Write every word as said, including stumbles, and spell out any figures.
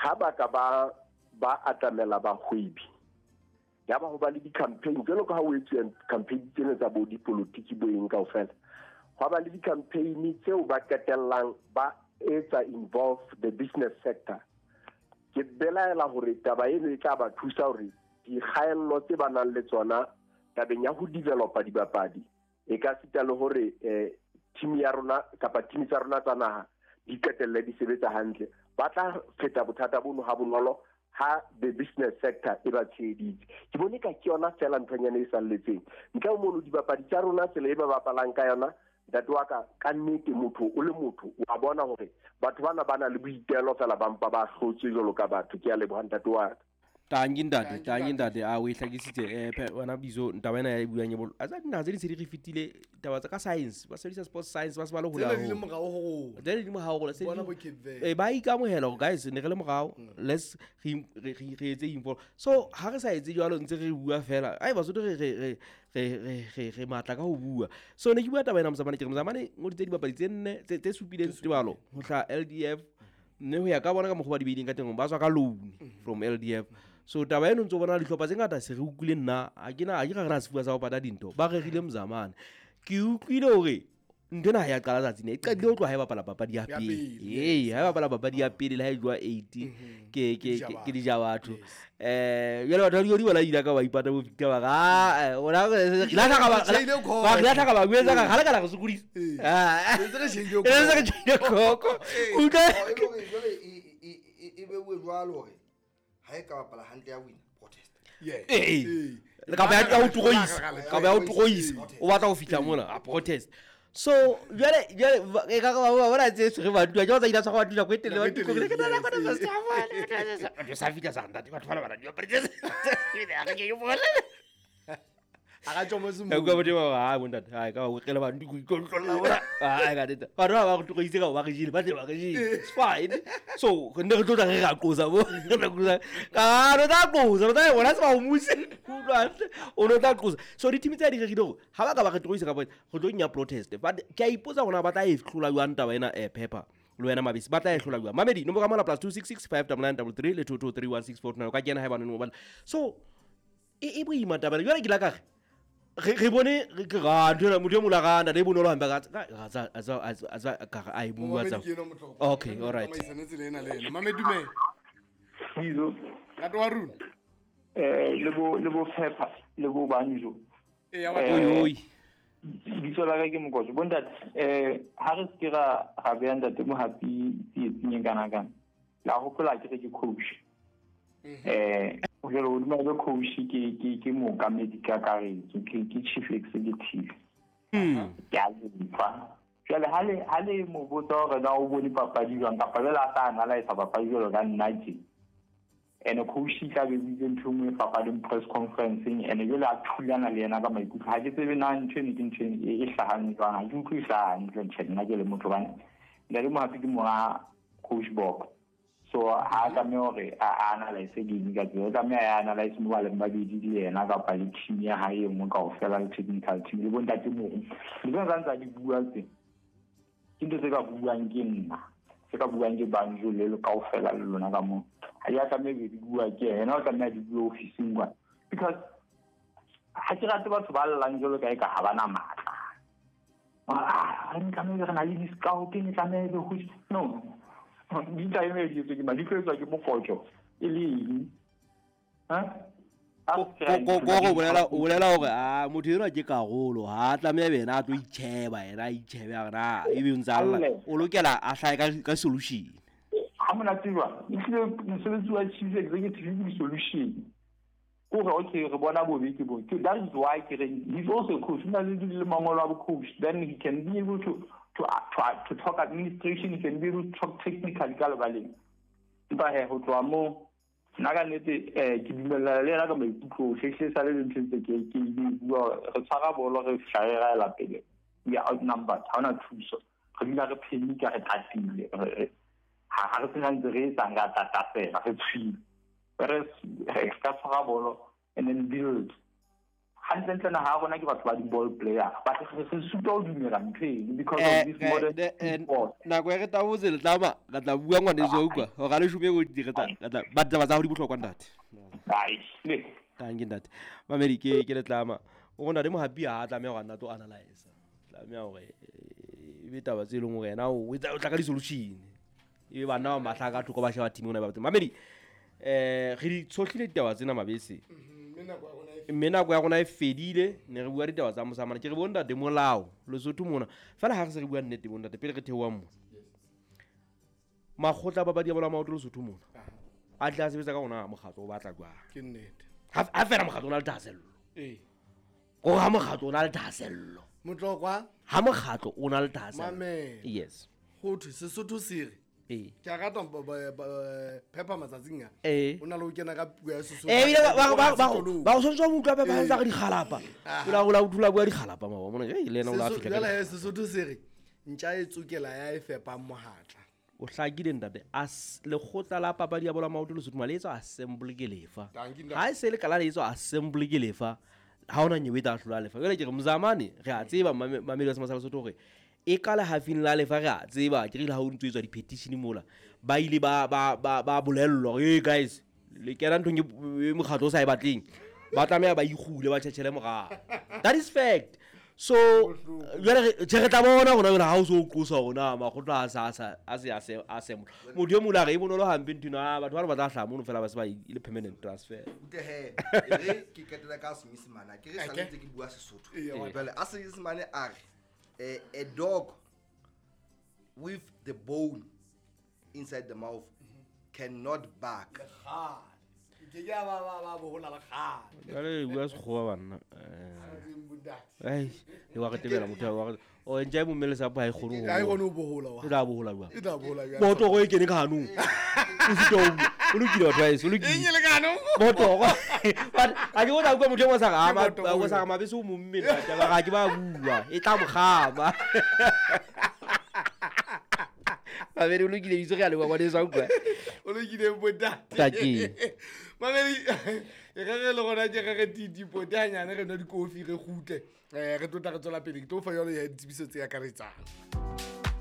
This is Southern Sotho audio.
Ha ba ka ba ba atamela bahwebi ya ba ho ba le di-campaign jwalo ka ha o etsuwa campaign tsena tsa bo dipolotiki bo eng kaofela, hwa ba le di-campaign tseo ba qetellang ba etsa involve the business sector. Ke belaela hore taba eno e tla ba thusa hore dikgaello tse ba nang le tsona tabeng ya ho developa dibapadi e ka sita le hore eh, team ya rona kapa team tsa rona tsa naha di qetelle di sebetsa hantle. Ba tla feta bothata bono ha bonolo ha the business sector e ba tsheheditse. Ke bone ka ke yona fela nthonyana e salletseng. Ntle ho mono dibapadi tsa rona tsela e ba bapalang ka yona, ntate wa ka, ka nnete motho o le motho wa bona hore batho bana ba na le boitelo fela ba mpa ba hlotswe jwalo ka batho. Ke a leboha ntate wa ka. Tangi ntate, tangi ntate, a o e hlakisitse eh wena bizo ntaba ena ya e buang e bolo. A tsa dinaha tse ding se di re fetile taba tsa ka science, ba sebedisa sports science ba se ba le hole Tsena di le haholo. morao ho rona. Tsena di le morao ho rona, se Bona di- bo Cape Verde. Eh, ba ikamohela hore guys ne re le morao, let's re re re re etse involve. So ha re sa etse jwalo ntse re bua fela. Ai Basotho re re re re re re re matla ka ho bua. So ne ke bua taba ena Mzamane, ke re Mzamane ngoditse dibapadi tse nne tse tse supileng tebalo ho hla L D F mme ho ya ka bona ka mokgwa ba di beileng ka teng ba tswa ka loan from L D F. So taba eno ntso bona dihlopha tse ngata se re utlwile nna ha ke na ha ke ra re na sefuba sa ho pata dintho ba rerile Mzamane. Ke utlwile hore ntho ena ha ya qala tsatsi ne e qadile ho tloha ha e bapala papadi ya Ya pele. pele, Ee, ha e bapala papadi ya pele le ha e jowa eight ke ke ke ke di ja batho. Eh jwale batho ba di bona ile ka ba ipata bo Victor ba re, ah, eh, ona re la tlhaka ba Tjheile khoko. ba re la tlhaka ba buetsa ka ha le ka la re sokodisa. Ee. Ah. Re ntse re tjheile Re ntse re tjheile khoko. Ee. Utlwa. Oh, e le hore jwale e, e, e, e beuwe jwalo hore ha e ka bapala hantle ya wina, protest. Yeah. Ee. Ee. Le kapa ya ya ho toroisa. Kapa ya ho toroisa. Protest. O batla ho fihla mona, a protest. So jwale jwale ba- e ka ba ba bona tse tshwere ba dula, ke ba tsa ile tshwara ba dula ko e telele, ba Nako e dula ko e telele, telele, yes, ba dula yes. sa ba sa fihla sa ntate, batho ba ba dula protest. A re ke bona. A ka tjho mo se Ka utlwa boteng ba re, "Hai, bontate, hai, ka ba o qela ba ntuku, ikontrolla bona." Hai, ka nnete. Batho ba ba re toroise ka ho ba re jele, ba tle ba re jele. It's fine. So, re ne re tlo tla re ra qosa bo. Re tla qosa. Ka re tla qosa, re tla bona se ba o muse. Utlwa hantle. O no tla qosa. So di-team tse di rerile hore ha ba ka ba re toroisa ka bo, re tlo nya protest. But ke a ipotsa hore na ba tla e hlola jwang taba ena, eh, Pepper. Le wena Mabisi, ba tla e hlola jwang? Mamedi, nomoro ya mohala plus two six six five double nine double three le two two three one six four nine. O ka kena haeba o ne o batla. So, e, e boima taba ena. Jwale ke la ka re, re, re bone, re ke ra, ntho ena, motho e mong a rata, le bonolo hampe, a ka, a tsa, a tsa, a tsa, a tsa, ka re, a e bua Momamedi tsa. ke enwa motlotlo. Okay, all right. Tsamaisane tsela ena le ena. Mamedi, dumela. Bizo. Ntate wa rona. Eh, le bo, le bo Pepper, le bo Banjo. Ee, ya wa Eh, Oi, oi. Bitso la ka ke Mokotjo. Bontate, eh, ha re se ke ra, ra beha ntate Mohapi tsietsing e kana kana. La hopola ke re ke coach. Eh, jwale hodima ebe coach ke, ke, ke mookamedi kakaretso, ke, ke chief executive. Hmm. Ke a lefa. Jwale ha le, ha le mo botsa hore na o bone papadi jwang, kapa jwale a sa analyse papadi jwalo ka nna tje. Ene coach e tla be buile ntho e nngwe e fapaneng press conference-eng, ene jwale a thulana le yena ka maikutlo. Ha ke tsebe na ntho eno ke ntho e, e hlahang jwang, ha ke utlwe e hlaha hantle tjhe, nna ke le motho hobane Ntate Mohapi ke monga coach Bok. So ha a tlameha hore a, a analyse game ka tsela, o tlameha a analyse mo ba leng babedi le yena kapa le team ya hae e nngwe kaofela, le technical team le bontate Moru. Le tsona tsa ntse a di bua tse, ke ntho tse ka buang ke nna, tse ka buang ke Banjo le le kaofela le lona ka moo. Ha di a tlameha be di bua ke yena, o tlameha di bue ofising kwana. Because ha ke rate batho ba llang jwalo ka eka ha ba na matla. Ah, re tlameha re na le di-scout, re tlameha be ho no. Di tlameha di etswe ke mang? Di tlo etswa ke Mokotjo e le eng? Ha? A Ko, se ra ko, ko, ithuta ko, bolela, dintho. o bolela hore, ah, motho enwa ke karolo, ha a tlameha be yena a tlo itjheba, yena a itjhebe a re na, ebe o ntse a lla. Alle. O lokela a hlahe ka, ka solution. Ha monate jwang? Ehlile mosebetsi wa chief executive ke di-solution. Ke hore, okay, re bona bobe ke bo. Ke, that is why ke re, he's also a coach. O na le le mangolo a bo coach. Then he can be able to, to, to, to talk administration, he can be able to talk technically ka lebaleng. Empa he, ho tloha moo, nna ka nnete, eh, ke dumellana le yena ka maikutlo ohle. Ehlile sa le le ntho tse ke, ke di bua, re tshwara bolo, re fihla re raela pele. We are outnumbered, ha hona thuso. Re dula re panic-a, re tatile, re, re, ha, ha re sena ntse re etsang, re a tata fela, re tshwile. Whereas, re ka tshwara bolo and then build. Hantlentle naha ya rona ke batho ba di-ball player. But re re sitwa ho dumela ntho eno because of this modern sport. Nako e re tabotse letlama re tla bua ngwaneso utlwa hore a leshome ko di re tla re tla ba taba tsa hao di bohlokwa ntate. Ai, le. Thank you ntate. Mamedi ke ke letlama. O rona le mohapi ha tlameha hore a nna tlo analyze. Tlameha hore e be taba tse leng hore yena o etsa o tla ka di-solution. E be banna ba mahla ka thoko ba sheba team ona ba batho. Mamedi eh re di tshohlile ditaba tsena mabese. Mme nako ya rona e fedile ne re bua ditaba tsa mosamana ke re bo ntate molao Lesotho mona fela ha re se re bua nnete bo ntate pele re theohang mona makgotla a papadi ya bolo ya maoto Lesotho mona a tle a sebetsa ka rona mokgatlo o batla jwang ke nnete ha ha fela mokgatlo o na le thahasello ee gore ha mokgatlo o na le thahasello Motlokwa ha mokgatlo o na le thahasello mamela yes ho thwe Sesotho se re ee ke a rata ba- ba- ba- phepa matsatsing a ee o na le ho kena ka puo ya Sesotho Eh, ebile ba- ba- ba- ba- Sekolong. ba o tshwanetse wa mo utlwa pepa ntse a re dikgalapa o la o la o dula bua dikgalapa mabo mona ei le yena o la Seso- fihla ka jwale he, Sesotho se re ntja e tsokela ya e fepang mohatla o hlakile ntate As- lekgotla la papadi ya bolo ya maoto Lesotho ma le etswa assembly ke lefa Dankie, ntate. ha e se le kala le etswa assembly ke lefa ha ona nyewe e tla hlola lefa jwale ke re mozamane re a tseba mame- mamedi wa Sema sa Lesotho hore e ka lehafing la lefa re a tseba ke rile ha o ntso etswa di-petition mola ba ile ba ba ba ba bolellwa hore hey guys le kena nthong e e mokgatlo o sa e batleng ba tlameha ba ikgule ba tjhetjhele morao that is fact so jwale re tjhe re tla bona rona jwale ha o so o qosa hore na makgotla a sa a sa a se a se a se motho e mong a re e bonolo hampe ntho eno, ah, batho ba re ba tla hlaha mono fela ba se ba e le permanent transfer Utlwe he, e re ke qetela ka Senyesemane ha ke re sale Okay. ntse ke bua Sesotho. Eya, wa- Jwale a Senyesemane a re, eh, a dog with the bone inside the mouth cannot bark. Kgale. Ke ke ya ba ba ba bohola le kgale. jwale le bua sekgowa banna Eh, Bontate. ai le wa re tebela motho wa re o ntja e momme lesapo ha e kgone Ha e ho kgone ho bohola wa. e tla bohola jwang E tla bohola jwang? botoro e kene ka hanong o sitwa ho bua. O lokile batho ba heso, o lokile. Eng e le ka hanong? Botoro. But ha ke o tla utlwa motho e mong a sa re, ah, Ke ma- botoro o sa re mabese o momme ntate, ba re ha ke ba bua e tla mo kgama. Babedi o lokile bitso re a leboha ngwaneso wa utlwa. O lokile bontate. Ntate. Mamedi, e re re le rona ke re re titi pote hanyane re nwa dikofi re kgutle. Eh, re tlo tla re tswela pele. Ke tlo fa yona ya ditsebiso tse akaretsang.